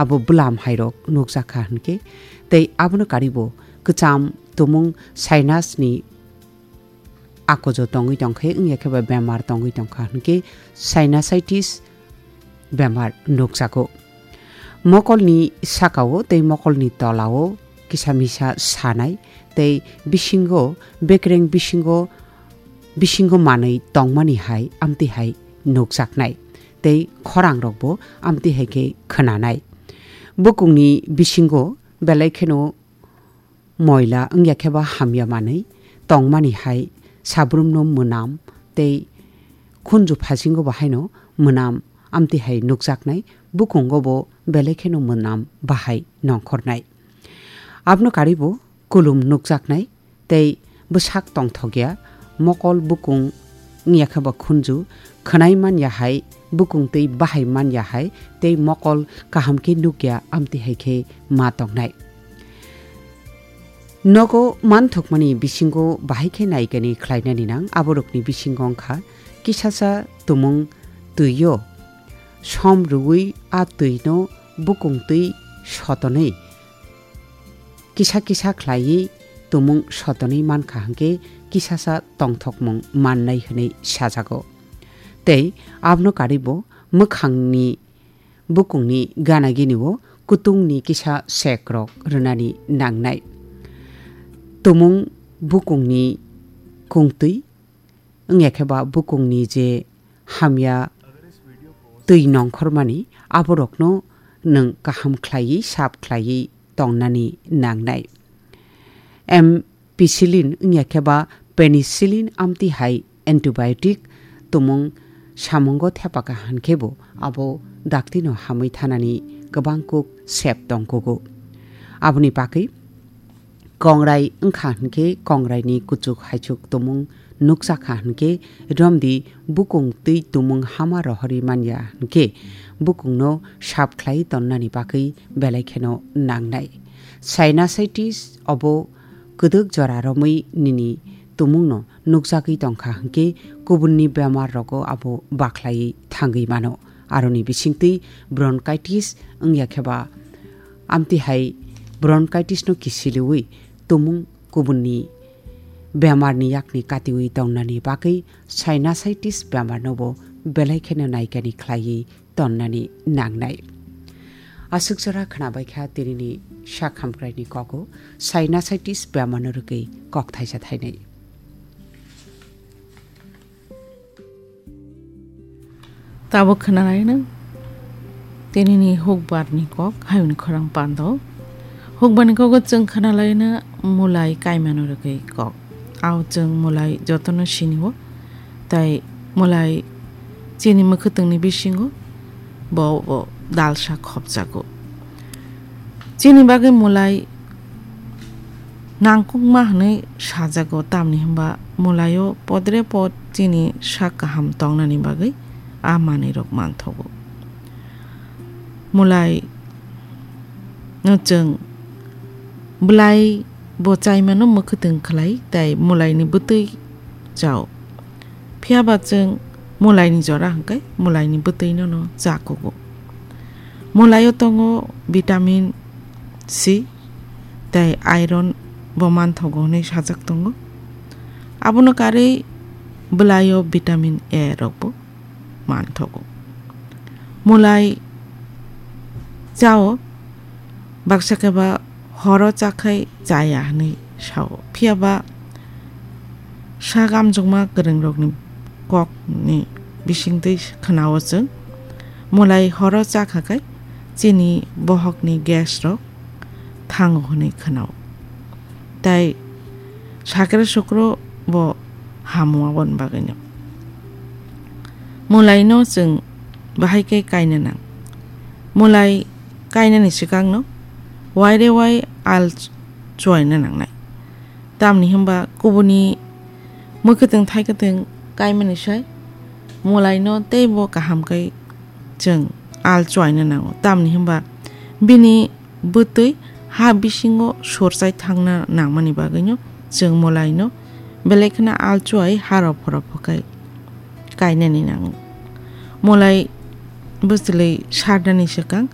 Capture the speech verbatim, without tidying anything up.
abo bwlam hairok nukjakha hinkhe, tei abono karibo kwcham tumung sinus ni akojo tongwi tongkhe, wngya khe ba bemar tongwi tongkha hinkhe sinusitis bemar nukjago. Mokolni sakao tei mokolni tolao kisa misa sanai tei bisingo bekreng bisingo, bisingo manwi tongmani hai amtwi hai nukjaknai tei khorangrokbo amtwi hai khe khwnanai. Bukungni bisingo belai kheno moila wngya khe ba hamya manwi tongmani hai sabrumno mwnam tei khunju phasingo bo haino mwnam amtwi hai nukjaknai, bukungo bo belai kheno mwnam bahai nongkhornai. Abno karibo kulum nukjaknai tei bwsak tongthokya, mokol bukung wngya khe ba khunju khwnai manya hai, bukung twi bahai manya hai tei mokol kaham khe nukya amtwi hai khe ma tongnai. Nogo manthokmani bisingo bahai khe naikani khlainani nang, aborokni bisingo wngkha kisasa tumung twi-o som rwui a twino bukung twi sotonwi kisa kisa khlaiwi tumung sotonwi mankha hinkhe kisasa tongthokmung mannai hwnwi sajago. Tei abno karibo mwkhangni bukungni gana gini o kutungni kisa sekrok rwnani nangnai. Tumung bukungni kungtwi wngya khe ba bukungni je hamya twi nongkhormani, aborokno nwng kaham khlaiwi sap khlaiwi tongnani nangnai. Ampicillin wngya khe ba penicillin amtwi hai antibiotic tumung samungo thepaka hinkhe bo abo daktino hamwi thanani kwbang kuk sep tongkugo. Aboni bagwi kongrai wngkha hinkhe kongraini kuchuk haichuk tumung nukjakha hinkhe romdi bukung twi tumung hama rohorwi manya hinkhe bukungno sap khlai tonnani bagwi belai kheno nangnai. Sinusitis obo kwdwk jora romwi nini tumungno nukjagwi tongkha hinkhe kubunni bemar rogo abo bakhlaiwi thangwi mano. Aroni bisingtwi bronchitis wngya khe ba amtwi hai bronchitis no kisiliwi tumung kubunni bemarni yakni katiwi tongnani bagwi sinusitis bemarno bo belai kheno naikani khlaiwi tonnani nangnai. Aswk jora khnabaikha tinini sak hamkraini kogo sinusitis bemarno rwgwi kok thaisa thainai. Tabuk khwnalaino tinini hukbarni kok hayungni khorang pando. Hukbarni kogo chwng khwnalaino mulai kaimano rwgwi kok. Ao chwng mulai jotono sinio, tai mulai chini mwkhwtwngni bisingo bo, bo dalsa khopjago. Chini bagwi mulai nangkukma hwnwi sajago, tamni hwnba mulaio podre pod chini sak kaham tongnani bagwi a manwirok manthogo. Mulai no chwng bwlai bo chaimano mwkhwtwng khlai, tai mulaini bwtwi chao. Phiya ba chwng mulaini jora hwnkhe mulaini bwtwino no cha kugo. Mulaio tongo vitamin C tei iron bo manthogo hwnwi sajak tongo. Abono karwi bwlaio vitamin A rokbo manthogo. Mulai chao, baksa khe ba horo chakhai chaya hwnwi sao. Phiya ba sak amjokma kwrwngrokni kokni bisingtwi khwnao chwng, mulai horo chakha khe chini bohokni gas rok thango hwnwi khwnao. Tai sakre sukro bo hamo aboni bagwino. Mulaino chwng bahai khe kaina nang. Mulai kainani swkangno waire wai al chuaina nangnai. Tamni hwnba kubuni mwkhwtwng thaikwtwng kaimani sai mulaino teibo kaham khe chwng al chuaina nango. Tamni hwnba bini bwtwi ha bisingo sorchai thangna nangmani bagwino chwng mulaino belai kheno al chuai ha rophor rophor khai kainani nango. Mulai bwchwlwi sarnani swkang